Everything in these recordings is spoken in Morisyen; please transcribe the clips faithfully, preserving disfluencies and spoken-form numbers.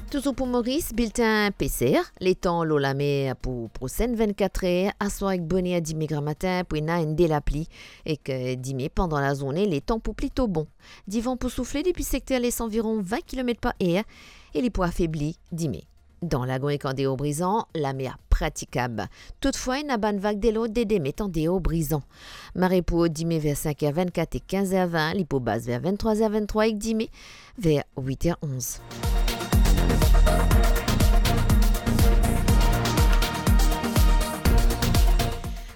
Touzour pou Moris, biltin peser, letan lor lamer pou prosenn vennkat er, aswar ek boner dime gramatin pou ena enn de lapli, ek, eh, dime pandan lazourne, letan pou plito bon. Divan pou soufle depi sekter les anviron vin kilomet par er e li pou afebli dime. Dan Lagon ek andeor Brizan, lamer pratikab. Toutfwa, ena bann vag de lord de de met andeor Brizan. Mare pou dime ver sink er vennkat e kinz er vin, li pou bas ver venntrwa er venntrwa ek dime ver wit er onz.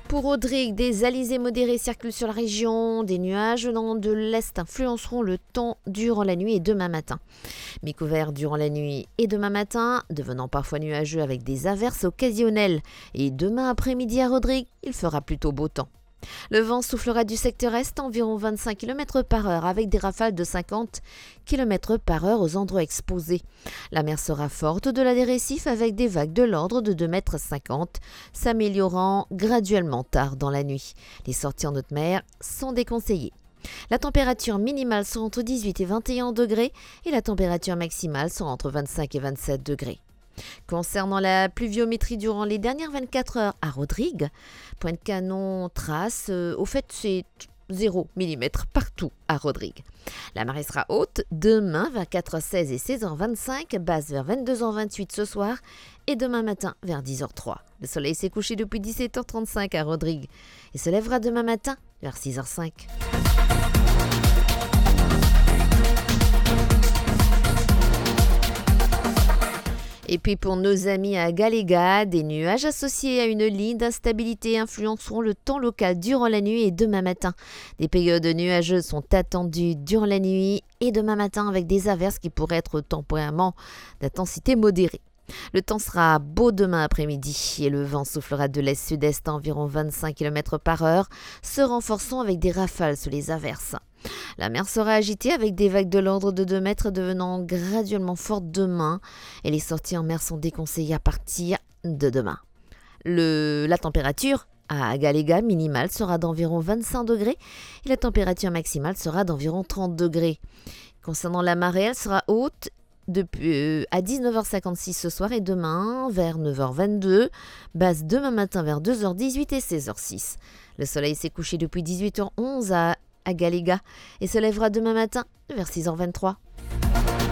Pour Rodrig, des alizés modérés circulent sur la région. Des nuages venant de l'est influenceront le temps durant la nuit et demain matin. Mi-couvert durant la nuit et demain matin, devenant parfois nuageux avec des averses occasionnelles. Et demain après-midi à Rodrig, il fera plutôt beau temps. Le vent soufflera du secteur est, environ vingt-cinq kilomètres par heure, avec des rafales de cinquante kilomètres par heure aux endroits exposés. La mer sera forte au-delà des récifs, avec des vagues de l'ordre de deux mètres cinquante, s'améliorant graduellement tard dans la nuit. Les sorties en haute mer sont déconseillées. La température minimale sera entre dix-huit et vingt et un degrés et la température maximale sera entre vingt-cinq et vingt-sept degrés. Concernant la pluviométrie durant les dernières vingt-quatre heures à Rodrig, point de canon, trace, euh, au fait, c'est zéro millimètre partout à Rodrig. La marée sera haute demain vers quatre heures seize et seize heures vingt-cinq, basse vers vingt-deux heures vingt-huit ce soir et demain matin vers dix heures trois. Le soleil s'est couché depuis dix-sept heures trente-cinq à Rodrig et se lèvera demain matin vers six heures cinq. Et puis pour nos amis à Agalega, des nuages associés à une ligne d'instabilité influenceront le temps local durant la nuit et demain matin. Des périodes nuageuses sont attendues durant la nuit et demain matin avec des averses qui pourraient être temporairement d'intensité modérée. Le temps sera beau demain après-midi et le vent soufflera de l'est-sud-est à environ vingt-cinq kilomètres par heure, se renforçant avec des rafales sous les averses. La mer sera agitée avec des vagues de l'ordre de deux mètres devenant graduellement fortes demain et les sorties en mer sont déconseillées à partir de demain. Le, la température à Agalega minimale sera d'environ vingt-cinq degrés et la température maximale sera d'environ trente degrés. Concernant la marée, elle sera haute depuis, euh, à dix-neuf heures cinquante-six ce soir et demain vers neuf heures vingt-deux, basse demain matin vers deux heures dix-huit et seize heures six. Le soleil s'est couché depuis dix-huit heures onze à Agalega et se lèvera demain matin vers six heures vingt-trois.